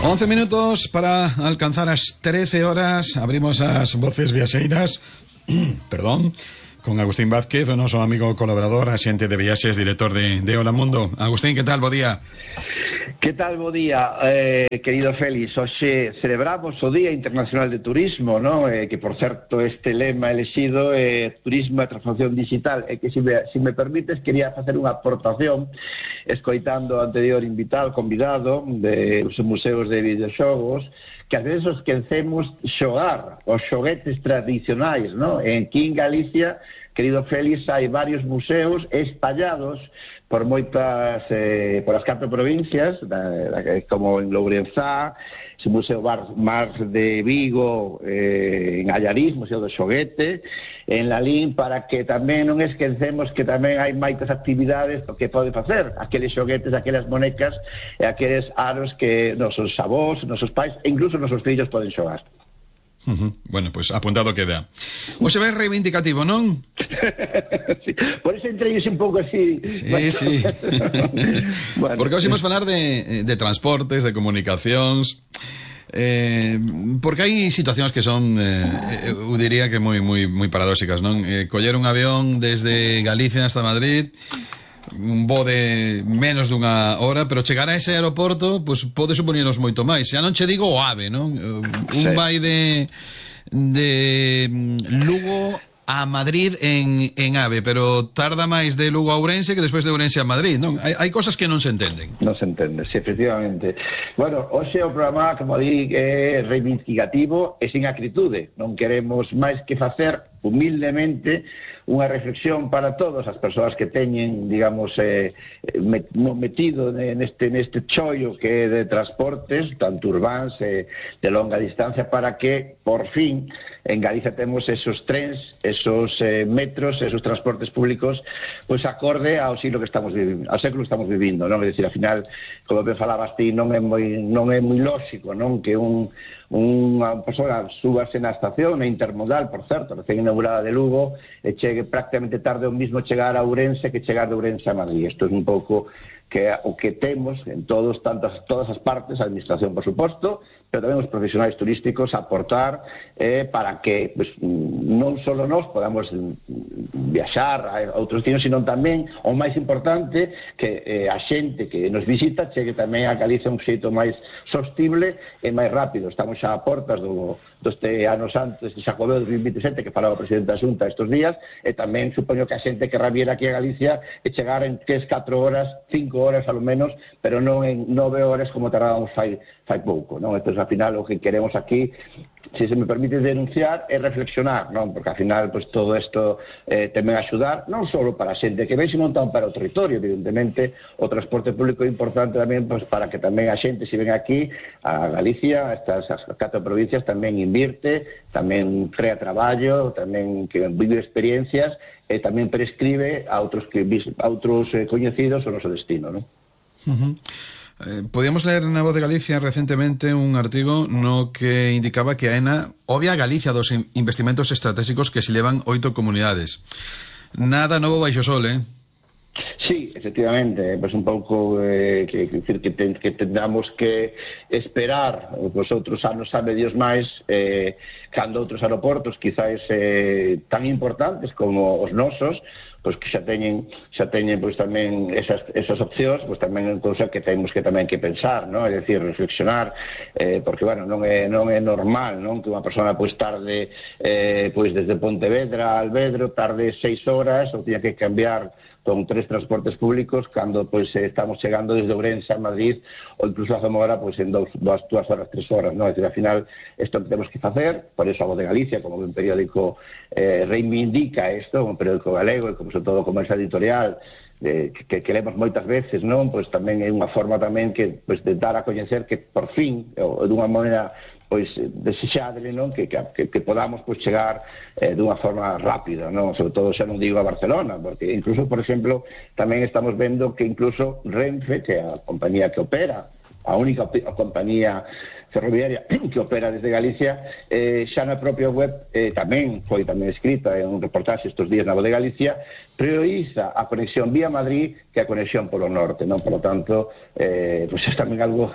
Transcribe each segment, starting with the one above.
11 minutos para alcanzar as 13 horas. Abrimos as voces viaxeiras perdón, con Agustín Vázquez, o noso amigo colaborador, axente de viaxes, director de Hola Mundo. Agustín, que tal? Bo día. Que tal, bo día, querido Félix. Hoxe celebramos o Día Internacional de Turismo, ¿no? Que, por certo, este lema elexido é Turismo e Transformación Digital, e que, se me permites, quería facer unha aportación escoitando o anterior convidado dos museos de videoxogos, que ás veces os esquecemos xogar os xoguetes tradicionais, ¿no? Aquí en Galicia, querido Félix, hai varios museos espallados por moitas, por as 4 provincias, como en Lourenzá, o Museo Mar de Vigo, en Allariz, Museo do Xoguete, en Lalín, para que tamén non esquecemos que tamén hai moitas actividades que pode facer, aqueles xoguetes, aquelas monecas e aqueles aros que nosos avós, nosos pais e incluso nosos fillos poden xogar. Bueno, pues apuntado queda. O se ve reivindicativo, non? Sí, por eso entrei un pouco así. Sí. Bueno, porque hoxe imos falar de transportes, de comunicacións, porque hai situacións que son, eu diría que moi paradóxicas, non? Coller un avión desde Galicia hasta Madrid, un voo de menos dunha hora, pero chegar a ese aeroporto pues, pode supoñernos moito máis. Xa non che digo o AVE, non? Un vai de Lugo a Madrid en AVE, pero tarda máis de Lugo a Ourense que despois de Ourense a Madrid, non? Hai cosas que non se entenden. Non se entende, sí, efectivamente. Bueno, hoxe o programa, como di, é reivindicativo e sin acritude. Non queremos máis que facer humildemente unha reflexión para todas as persoas que teñen, digamos, metido neste chollo que é de transportes, tanto urbáns de longa distancia, para que, por fin, en Galicia temos esos trens, esos metros, esos transportes públicos, pois acorde ao século que estamos vivindo, non? É dicir, ao final, como me falabas ti, non é moi lóxico, non? Que unha persoa súbase na estación, intermodal, por certo, recén inaugurada de Lugo, e chegue prácticamente tarde o mismo chegar a Ourense que chegar de Ourense a Madrid. Isto é un pouco que o que temos en todas as partes, a administración, por suposto, pero tamén os profesionais turísticos aportar para que pues, non só nós podamos viaxar a outros destinos, sino tamén, o máis importante, que a xente que nos visita chegue tamén a Galicia un xeito máis sostible e máis rápido. Estamos xa a portas deste ano santo, este Xacobeo 2027, que falaba o presidente da Xunta estes días, e tamén supoño que a xente que rabiera aquí a Galicia e chegar en 3-4 horas, 5 horas ao menos, pero non en 9 horas como tardábamos fai pouco, non? Entón, ao final, o que queremos aquí, se me permite denunciar, é reflexionar, non? Porque, ao final, pues, todo isto tamén axudar, non só para a xente que ven, sino tamén para o territorio, evidentemente, o transporte público é importante tamén, pues, para que tamén a xente, se ven aquí, a Galicia, estas 4 provincias, tamén invirte, tamén crea traballo, tamén que vive experiencias, e tamén prescribe a outros coñecidos o noso destino, non? Podíamos ler na Voz de Galicia recentemente un artigo no que indicaba que a AENA obvia a Galicia dos investimentos estratégicos que se levan 8 comunidades. Nada novo baixo sol, Sí, efectivamente, pues un pouco que tendamos que esperar os outros anos, sabe Dios máis, cando outros aeroportos quizás tan importantes como os nosos, pois que xa teñen pois tamén esas opcións, pois tamén é cousa que temos que tamén que pensar, non? É dicir, reflexionar, porque bueno, non é normal, non, que unha persona pois tarde pois desde Pontevedra a Alvedro tarde 6 horas ou tiña que cambiar con 3 transportes públicos cando pois estamos chegando desde Ourense a Madrid ou incluso a Zamora pois en 2 horas, 3 horas, non? É dicir, ao final, isto que temos que facer, por eso a Voz de Galicia, como un periódico reivindica isto, un periódico galego e como sobre todo como esa editorial que queremos moitas veces, non? Pois tamén é unha forma tamén que pois de dar a coñecer que por fin, ou dunha maneira pois desexable, non? Que podamos pois chegar dunha forma rápida, non? Sobre todo xa non digo a Barcelona, porque incluso, por exemplo, tamén estamos vendo que incluso Renfe, que é a compañía que opera, a única compañía ferroviaria que opera desde Galicia, xa na propia web tamén foi escrita en un reportaxe estes días na Voz de Galicia, prioriza a conexión vía Madrid que a conexión polo norte, non? Por lo tanto, pues é tamén algo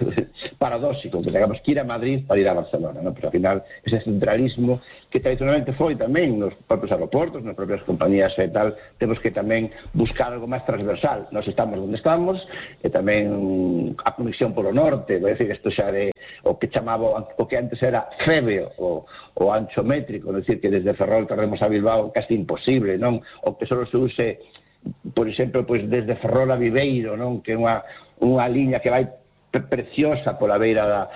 paradóxico, que tengamos que ir a Madrid para ir a Barcelona, non? Pero ao final, ese centralismo que tradicionalmente foi tamén nos propios aeroportos, nas propias compañías e tal, temos que tamén buscar algo máis transversal. Nós estamos onde estamos, e tamén a conexión polo norte, vai decir, isto xa de o que chamaba, o que antes era FEBE, o ancho métrico, é dicir, que desde Ferrol tardemos a Bilbao casi imposible, non? O que só se use, por exemplo, pues desde Ferrol a Viveiro, non? Que é unha liña que vai preciosa pola beira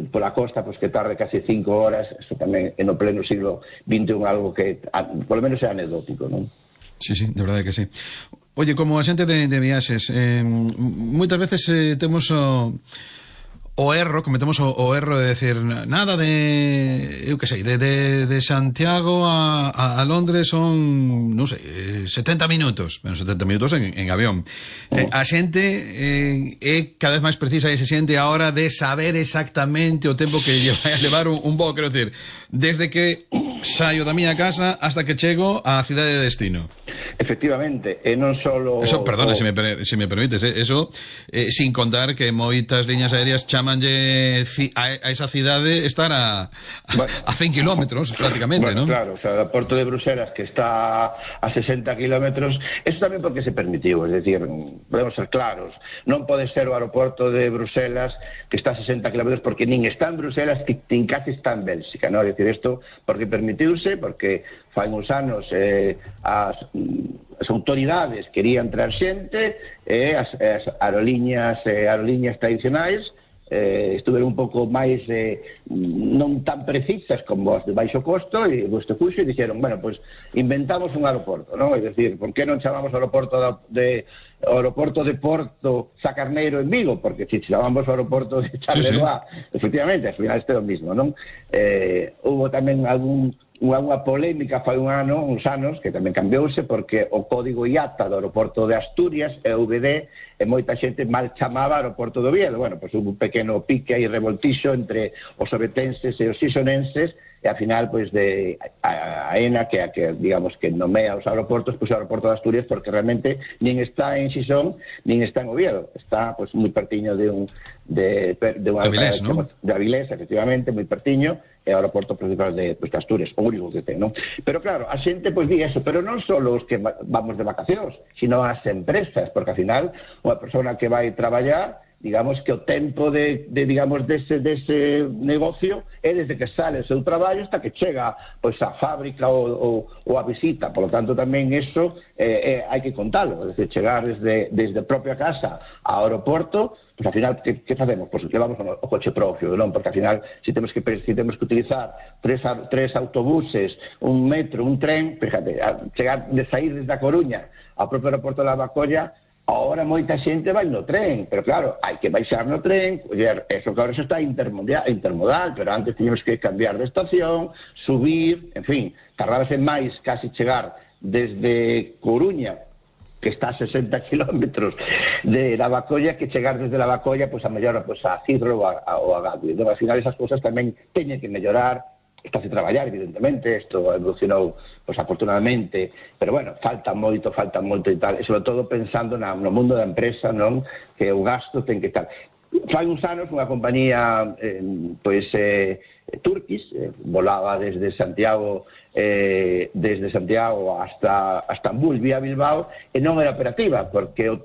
pola costa, pois que tarde casi 5 horas. Eso tamén no pleno siglo XXI algo que polo menos é anecdótico, non? Sí, sí, de verdade que sí. Oye, como a xente de viaxes, moitas veces temos cometemos o erro de decir nada de, eu que sei, de Santiago a Londres son, non sei, 70 minutos, bueno, 70 minutos en avión. A xente é cada vez máis precisa e se xente a hora de saber exactamente o tempo que vai a levar un voo, quero decir, desde que saio da miña casa hasta que chego á cidade de destino. Efectivamente, e non solo... Eso, perdona, se me permites, eso sin contar que moitas liñas aéreas chamanlle a esa cidade estar a 100 kilómetros prácticamente, bueno, ¿no? Claro, o sea, o Porto de Bruselas que está a 60 kilómetros, eso tamén porque se permitiu, es decir, podemos ser claros, non pode ser o aeroporto de Bruselas que está a 60 kilómetros porque nin está en Bruselas, nin casi está en Bélxica, ¿no? Es decir, isto porque permitiuse, porque fai uns anos as autoridades querían traer xente e as aerolíneas tradicionais estuveron un pouco máis non tan precisas como as de baixo costo e do xuxo e dixeron, bueno, pois inventamos un aeroporto, non? É dicir, por que non chamamos aeroporto de Porto Sacarneiro en Vigo? Porque se chamamos o aeroporto de Charleroi, efectivamente, ao final este é o mismo, non? Hubo tamén unha polémica fai uns anos que tamén cambiouse porque o código IATA do aeroporto de Asturias EVD e moita xente mal chamaba aeroporto do Oviedo. Bueno, pois hubo un pequeno pique e revoltixo entre os ovetenses e os xisonenses e ao final pois de a ENA que digamos que nomea os aeroportos, pois o aeroporto de Asturias porque realmente nin está en Xisón nin está en Oviedo, está pois moi pertiño de Avilés, ¿no? De Avilés, efectivamente, moi pertiño, é o aeroporto principal de Asturias, o único que ten, non? Pero claro, a xente pois di eso, pero non só os que vamos de vacacións, sino as empresas, porque ao final unha persona que vai traballar, digamos que o tempo digamos dese negocio é desde que sale o seu traballo hasta que chega pois a fábrica ou a visita. Por lo tanto tamén eso hai que contalo, é dicir, chegar desde a propia casa ao aeroporto, pois ao final que facemos? Pois levamos o coche propio, non? Porque ao final se temos que utilizar tres autobuses, un metro, un tren, fíjate, chegar de sair desde a Coruña ao propio aeroporto de Lavacolla. Ahora moita xente vai no tren, pero claro, hai que baixar no tren, eso que ahora xa está intermodal, pero antes teníamos que cambiar de estación, subir, en fin, tardábase máis casi chegar desde Coruña, que está a 60 kilómetros de Lavacolla, que chegar desde Lavacolla pois a mellor pois a Cidro ou a Gatwick. Entón, ao final esas cousas tamén teñen que mellorar. Está a traballar, evidentemente, isto evolucionou, pois, afortunadamente, pero, bueno, falta moito e tal, e, sobre todo, pensando no mundo da empresa, non? Que o gasto ten que estar. Fai uns anos, unha compañía, Turkish, volaba desde Santiago hasta Estambul, vía Bilbao, e non era operativa, porque o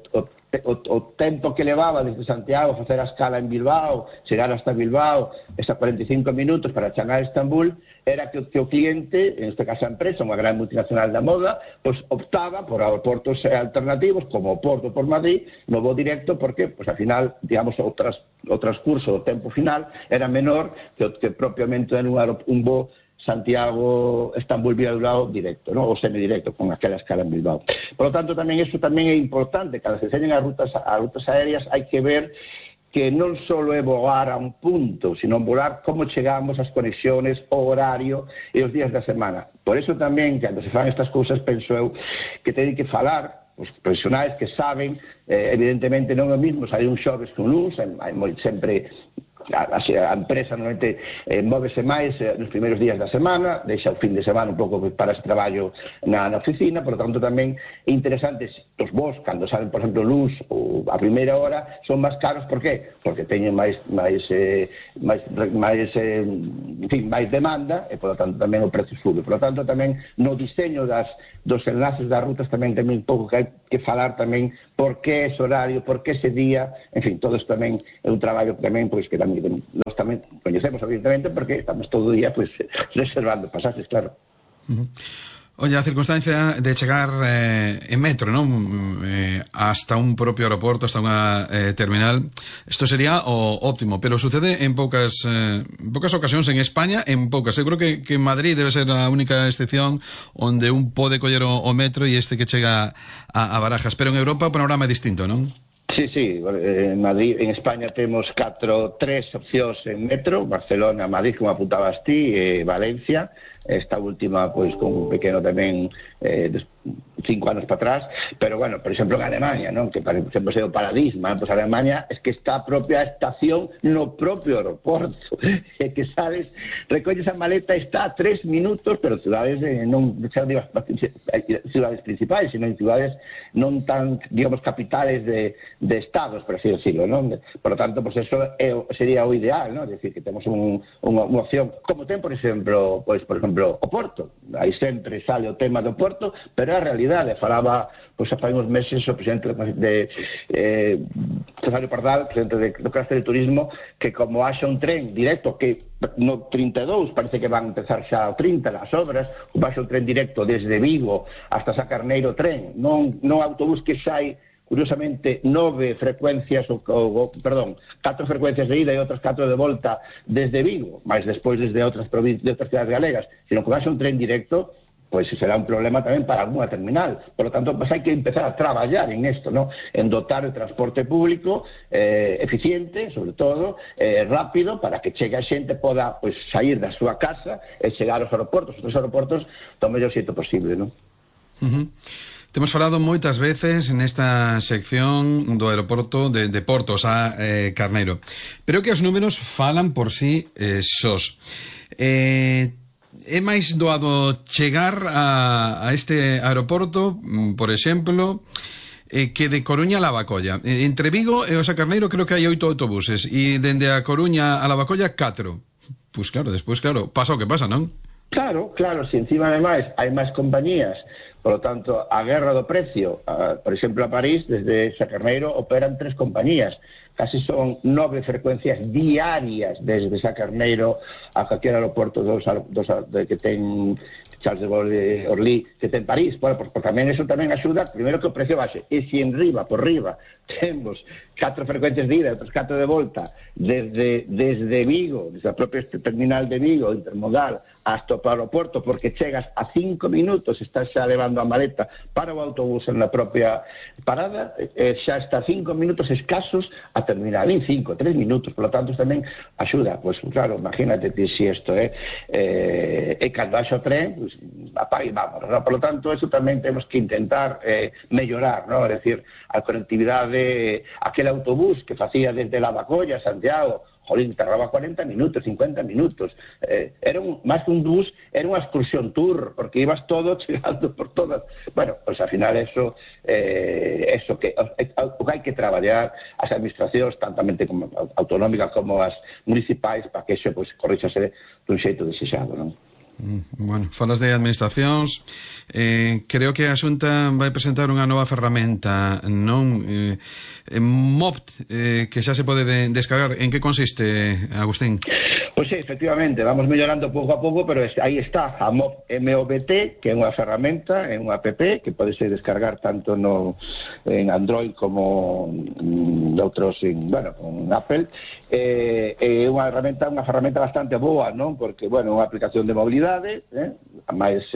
tempo que levaba desde Santiago a facer a escala en Bilbao, chegar hasta Bilbao, esas 45 minutos para chegar a Estambul, era que o cliente, en este caso a empresa, unha gran multinacional da moda, pois optaba por aeroportos alternativos, como o Porto por Madrid, no voo directo, porque, pois, ao final, digamos, o transcurso do tempo final era menor que propiamente en un voo Santiago-Estambul vía Bilbao directo, ¿no? O semidirecto, con aquela escala en Bilbao. Por lo tanto, tamén iso tamén é importante, cando se enseñan as rutas aéreas, hai que ver que non só é voar a un punto, sino volar como chegamos ás conexiones, o horario e os días da semana. Por eso tamén, cando se fan estas cousas, penso eu que teñen que falar os profesionais que saben, evidentemente non é o mismo sair un xoves que un luns, hai sempre a empresa normalmente móvese máis nos primeiros días da semana, deixa o fin de semana un pouco para ese traballo na oficina, por lo tanto tamén é interesante os voos, cando salen, por exemplo, luz ou a primeira hora, son máis caros, por qué? Porque teñen máis demanda e, por lo tanto, tamén o precio sube. Por lo tanto, tamén no diseño dos enlaces das rutas tamén un pouco que hai que falar tamén por que ese horario, por que ese día, en fin, todo isto tamén é un traballo tamén, pois, que tamén nós tamén coñecemos, evidentemente, porque estamos todo o día, pois, reservando pasajes, claro. Oye, a circunstancia de chegar en metro, non? Hasta un propio aeroporto, hasta unha terminal, isto sería o óptimo, pero sucede en poucas ocasións en España, en poucas. Eu creo que Madrid debe ser a única excepción onde un pode coller o metro e este que chega a Barajas, pero en Europa o panorama é distinto, non? Sí, en Madrid, en España temos tres opcións en metro, Barcelona, Madrid, como apuntabas ti, Valencia, esta última, pois, con un pequeno tamén 5 anos para atrás, pero, bueno, por exemplo, en Alemania, non? Que, por exemplo, é o paradigma, pois Alemania é que está a propia estación no propio aeroporto, e que sales, recolles a maleta, está a 3 minutos, pero cidades non cidades principais, sino en cidades non tan, digamos, capitales de estados, por así decirlo, non? Por lo tanto, pois, eso sería o ideal, non? É dicir, que temos unha opción, como ten, por exemplo, o Porto, aí sempre sale o tema do Porto, pero a realidade, falaba, pois, há uns meses o presidente de Cesario Pardal, presidente do Cluster de Turismo, que como haxa un tren directo, que no 32, parece que van a empezar xa o 30 as obras, como haxa un tren directo desde Vigo hasta Sacarneiro tren, non autobús que sai, curiosamente, 4 frecuencias de ida e outras 4 de volta desde Vigo, máis despois desde outras cidades galegas, sino que vai ser un tren directo, pois será un problema tamén para alguna terminal. Por lo tanto, hai que empezar a traballar en isto, ¿no? En dotar o transporte público eficiente, sobre todo, rápido, para que chegue a xente poda, pois, sair da súa casa e chegar aos aeroportos, do mellor xeito posible, non? Temos falado moitas veces nesta sección do aeroporto de Portos a Carneiro, pero que os números falan por sí sós. É máis doado chegar a este aeroporto, por exemplo, que de Coruña a Lavacolla. Entre Vigo e o Sacarneiro creo que hai 8 autobuses e dende a Coruña a Lavacolla 4. Pois claro, despois, claro, pasa o que pasa, non? Claro, se encima ademais hai máis compañías, por lo tanto, a guerra do precio, por exemplo, a París, desde Sacarneiro operan 3 compañías, casi son 9 frecuencias diarias desde Sacarneiro a calquera aeroporto que ten Charles de Gaulle, Orly, que ten París. Bueno, pues tamén eso tamén axuda, primeiro que o precio baixe, e se por riba temos 4 frecuencias de ida e outras 4 de volta desde Vigo, desde a propia terminal de Vigo, intermodal, hasta o aeroporto, porque chegas a 5 minutos, estás xa levando a maleta para o autobús na propia parada, xa está 5 minutos escasos a terminar, en 3 minutos, por lo tanto tamén axuda. Pues claro, imagínate si isto e cando haxa o tren, pues, apaga e vamos, ¿no? Por lo tanto, eso tamén temos que intentar mellorar, ¿no? Es decir, a conectividade, aquel autobús que facía desde Lavacolla a Santiago, jolín, tardaba 40 minutos, 50 minutos. Era máis que un bus, era unha excursión tour, porque ibas todo chegando por todas. Bueno, pues al final eso que o que hai que traballar as administracións, tantamente como autonómicas como as municipais, para que eso, pues, corríxase dun xeito desexado, non? Bueno, falas de administracións, creo que a Xunta vai presentar unha nova ferramenta, non? MOBT, que xa se pode descargar. En que consiste, Agustín? Pois sí, efectivamente, vamos mellorando pouco a pouco, pero aí está a MOBT, que é unha ferramenta, é unha app que pode ser descargar tanto en Android como outros, con Apple. É unha ferramenta bastante boa, non? Porque, unha aplicación de mobilidade, máis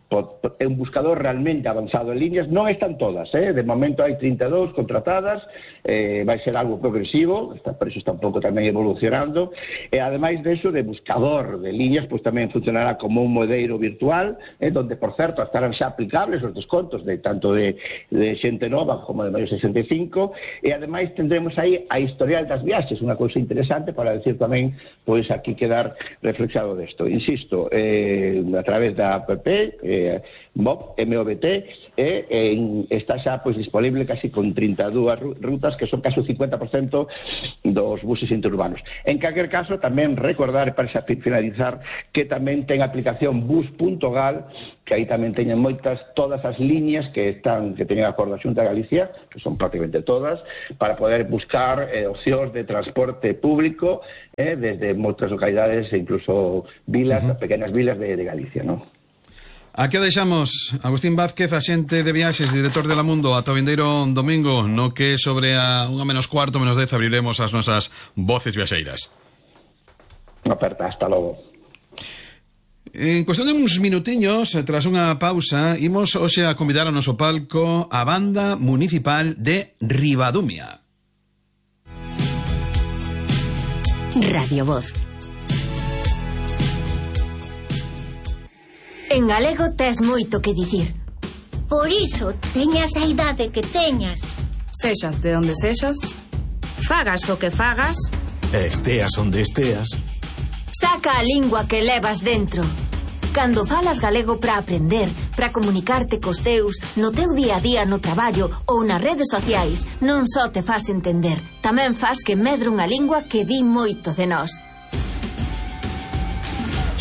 é un buscador realmente avanzado en líneas. Non están todas, de momento hai 32 contratadas, vai ser algo progresivo, por eso está un pouco tamén evolucionando, e ademais deso de buscador de líneas, pois tamén funcionará como un modeiro virtual, donde, por certo, estarán xa aplicables os descontos de tanto de xente nova como de maior 65, e ademais tendremos aí a historial das viaxes, unha cousa interesante para decir tamén, pois aquí quedar reflexado desto. Insisto, a través da app, MOVT, está xa pois disponible casi con 32 rutas, que son casi o 50% dos buses interurbanos. En calquer caso, tamén recordar, para finalizar, que tamén ten a aplicación bus.gal, que aí tamén teñen todas as líneas que teñen a acordo da Xunta de Galicia, que son prácticamente todas, para poder buscar opcións de transporte público desde moitas localidades e incluso vilas, pequenas vilas de Galicia, non? Aquí o deixamos. Agustín Vázquez, axente de viaxes, director de La Mundo. Ata o vindeiro domingo, no que sobre a 1:15, -10, abriremos as nosas voces viaxeiras. Aperta, hasta logo. En cuestión de uns minutiños, tras unha pausa, imos hoxe a convidar ao noso palco a Banda Municipal de Ribadumia. Radio Voz. En galego tes moito que dicir. Por iso, teñas a idade que teñas. Sexas de onde sexas, Fagas o que fagas, esteas onde esteas, saca a lingua que levas dentro. Cando falas galego para aprender, para comunicarte cos teus, no teu día a día no traballo ou nas redes sociais, non só te fas entender, tamén fas que medre unha lingua que di moito de nós.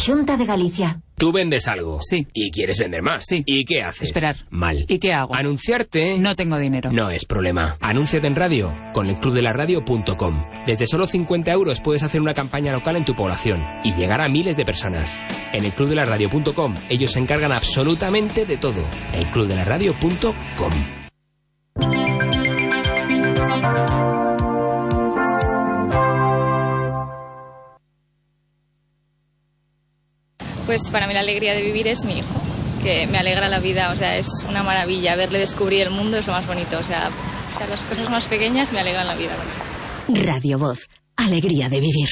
Xunta de Galicia. Tú vendes algo. Sí. Y quieres vender más. Sí. ¿Y qué haces? Esperar. Mal. ¿Y qué hago? Anunciarte. No tengo dinero. No es problema. Anúnciate en radio con elclubdelaradio.com. Desde solo 50 € puedes hacer una campaña local en tu población y llegar a miles de personas. En elclubdelaradio.com ellos se encargan absolutamente de todo. elclubdelaradio.com. Pues para mí la alegría de vivir es mi hijo, que me alegra la vida, o sea, es una maravilla. Verle descubrir el mundo es lo más bonito, o sea las cosas más pequeñas me alegran la vida. Radio Voz, alegría de vivir.